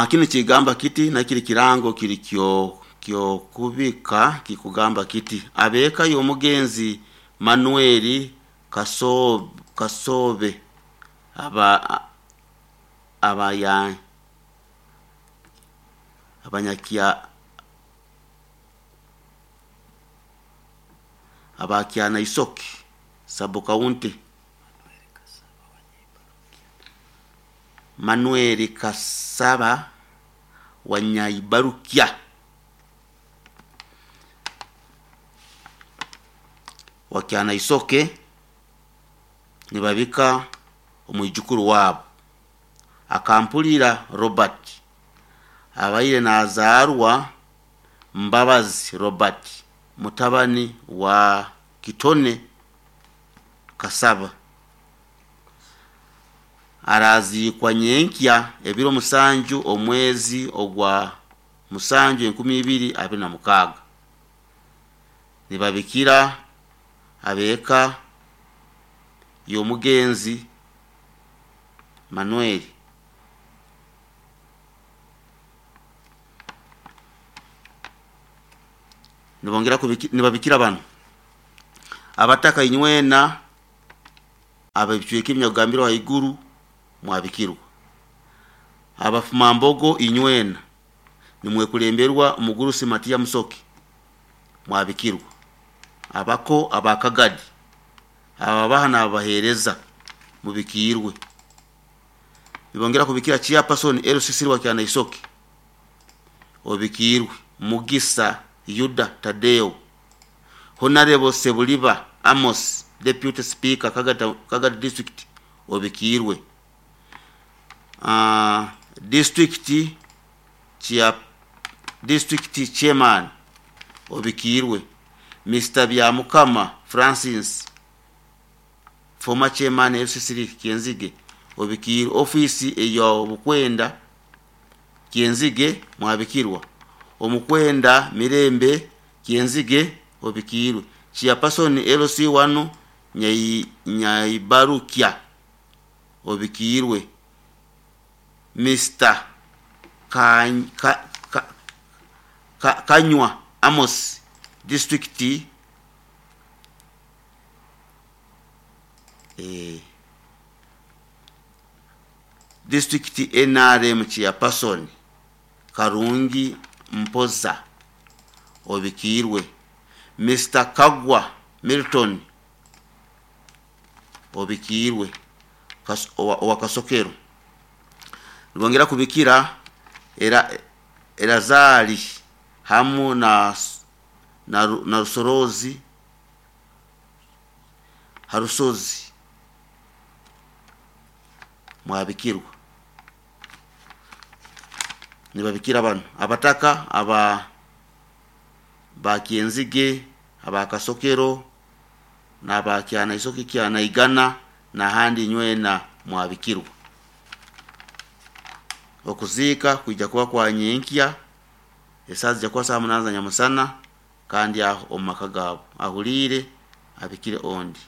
Kinu kigamba kiti, nakiri kirango kiri kyo kyokubika kikugamba kiti: abeka y'omugenzi Manueli Kasobe aba abaya abanyakya abakyana Isoke sub county, Manueli Kasaba Wanyaibarukya wakyana Isoke, nibabika omwijukuru wabo Akampulira Robert, abaire nazarwa Mbabazi Robert, mutabani wa Kitone Kasaba. Araziikwa nyenkya ebiro 7 omwezi ogwa 7 2026. Nibabikira abeka y'omugenzi Manuel nibongera nibabikira bano abataka inywena abebicweka ebinyakugambirwa haiguru mwabikirwa. Abafumambogo inywena nimwekulemberwa omugurusi Matiya Musoke mwabikirwa. Abako abakagadi ababaha n'ababahereza mubikirwe. Nibongera kubikira chairperson LCC wa Kyana Isoke obikirwe, Mugisa Yuda Tadeo, Honorable Sebuliba Amos, Deputy Speaker Kagadi District obikirwe. District Chair, District Chairman obikirwe, Mr. Byamukama Francis, former chairman LCC Kyenzige obikirwe. Ofisi ey'obukwenda Kyenzige mwabikirwa. Omukwenda Mirembe Kyenzige obikirwe. Chairperson LC1 Nyaibarukya obikirwe. Mr. Kanywa Amos, District District NRM Chairperson Karungi Mpoza obikirwe. Mr. Kagwa Milton obikirwe owa Kasokero. Nibongera kubikira era Erazali hamu na Rusorozi Harusozi mwabikirwa. Nibabikira bano abataka aba Bakyenzige, abakasokero n'abakyana Isoke kyana Igana n'ahandi nywena mwabikirwa. Okuziika kwija kuba kwa nyenkya esaaha zijja kuba saa 8 za nyamusana, kandi aho omu maka gaabo ahuliire abikire ondi.